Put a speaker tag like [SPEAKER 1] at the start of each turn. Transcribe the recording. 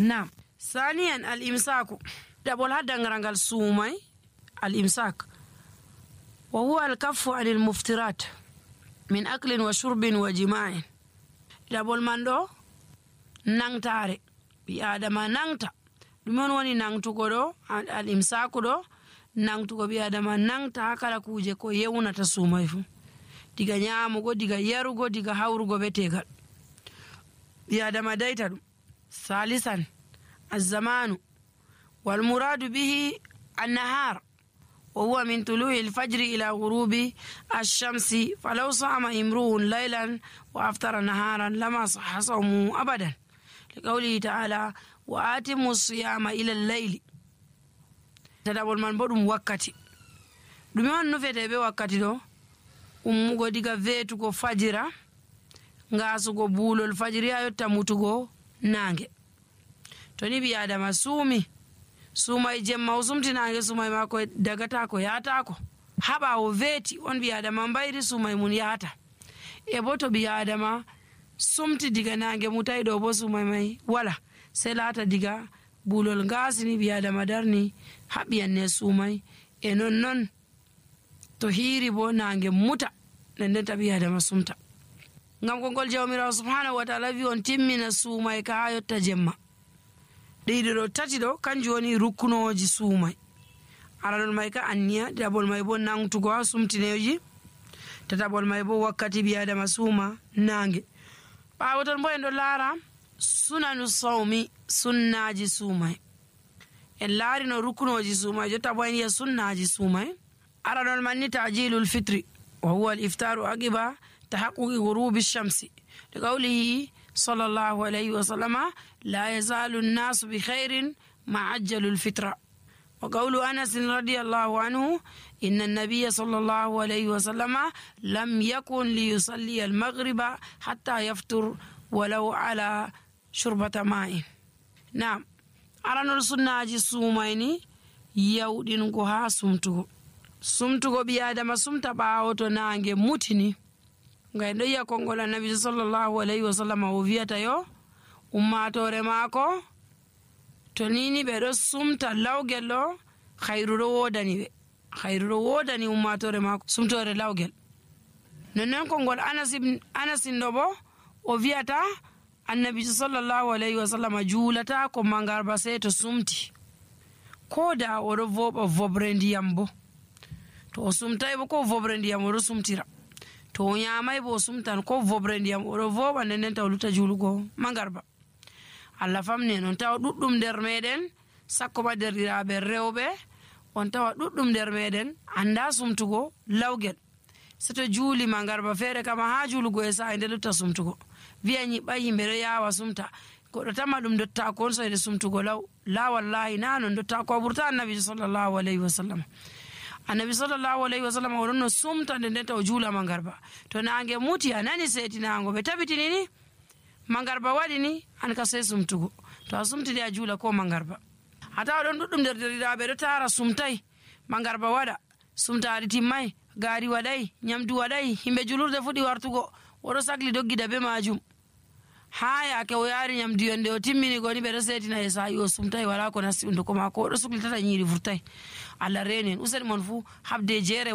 [SPEAKER 1] Naam. Saniyan al-imsaku ɗaɓol ha dangragal suumay al-imsak wa huwa al-kaffu anil muftirat min aklin wa shurbin wa jima'in. Ɗaɓol man ɗo nangtare ɓi adama nangta ɗume on woni nangtugo ɗo al-imsaku ɗo nangtugo ɓi adama nangta ha kala kuje ko yewnata suumay fu diga nyamugo diga yarugo diga hawrugo be tegal ɓi adama dayta ɗum. Salisan الزمان والمراد به النهار وهو من طلوع الفجر إلى غروب الشمس فلو صام امرؤ ليلا وأفطر نهارا لما صح صومه أبدا لقوله تعالى وآتموا الصيام إلى الليل. تدابول من بدum wakkati ɗume on nufete be wakkati ɗo ummugo diga veetugo fajira ngasugo buulol fajiri ha yotta mutugo nange. To ni ɓi adama suumay jemma o sumtinange suumay mako dagata ko yahata ko ha ɓawo veeti on ɓi adama mbayri suumay mum yahata. E bo to ɓi adama sumti diga nange mutai ɗo bo suumay may wala sei laata diga buulol ngasini ɓi adama darni haɓiyanne suumay e non to hiiri bo nange muta ndendenta ɓi adama sumta. Ngam kongol jawmirawo subhanahu wa ta'ala wi on timmina suumay ka ha yotta jemma. Ɗiɗi ɗo tati ɗo kanjum woni rukkunoji suumay. Aranol may ka anniya, ɗiɗaɓol may bo nangtugo ha sumtineji, tataɓol may bo wakkati ɓi adama suuma nange. Ɓawo ton bo en ɗo laara sunanu sawmi sunnaji suumay. En laari no rukkunoji suumay jotta bo en yiya sunnaji suumay. Aranol man ni ta'jilul fitri wa huwa al-iftaru aqiba tahaqquqi ghurubi shamsi liqawlihi صلى الله عليه وسلم لا يزال الناس بخير ما عجلوا الفطرة. وقول أنس رضي الله عنه إن النبي صلى الله عليه وسلم لم يكن ليصلي المغرب حتى يفطر ولو على شربة ماء. نعم. أرانو السنة سوميني يودينكو ها sumtugo ɓi adama sumta ɓawo to nange mutini. Ngay ɗo yiya kongol annabi sallallahu alayhi wa sallam o wiyata yo ummatore maako to nini ɓe ɗo sumta lawgel ɗo hayru ɗo wodani ummatore maako sumtore lawgel. Nonnon kongol anasin ɗo bo o wiyata annabi sallallahu alayhi wa sallam juulata ko mangarba sey to sumti ko da oɗo voɓa vobre ndiyam bo to o sumtay bo ko vobre ndiyam oɗo sumtira. To o nyamay bo sumtan ko vobre ndiyam oɗo voɓa nden taw luta julugo mangarba. Allah famni non tawa ɗuɗɗum nder meɗen sakko ba derɗiraɓe rewɓe on tawa ɗuɗɗum nder meɗen anda sumtugo lawgel. Seto juuli mangarba feere kama ha julugo e sa'a nde lutta sumtugo wiya nyiɓɓa yimɓe ɗo yawa sumta goɗɗo tama ɗum dottako on soyde sumtugo la wallahi na non dottako a ɓurta annabi sallallahu alayhi wa sallam. Annabi sallallahu alayhi wa sallam oɗon no sumta nden taw juula mangarba to nange muti a nani setinango ɓe tabitini ni mangarba waɗi ni an ka sey sumtugo to a sumtini a juula ko mangarba. A tawa ɗon ɗuɗɗum nder derɗiraɓe ɗo tara sumtai mangarba waɗa sumtaari timmay gaari waɗay nyamdu waɗay himɓe julurde fuɗi wartugo oɗo sagli doggida be majum ha yake o yaari nyamdu yonde o timmini goni ɓeɗo setina e sa'i o sumtai wala ko nasti hunduko mako oɗo suklitata nyiri vurtai. Allah reni en useni mon fu habde jeere